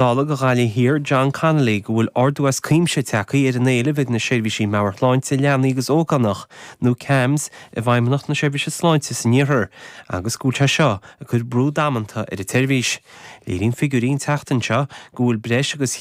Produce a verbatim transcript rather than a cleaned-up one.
Dála do Ghaillimh Thiar John Connolly go bhfuil ardú as cuimse tagtha ar an éileamh ag na seirbhísí meabhairshláinte leanaí agus ógánach nó CAMHS i bhFeidhmeannacht na Seirbhíse Sláinte san iarthar agus go bhfuil sé seo ag cur brú damanta ar an tseirbhís. Léiríonn figiúirí an tseachtain seo go bhfuil breis agus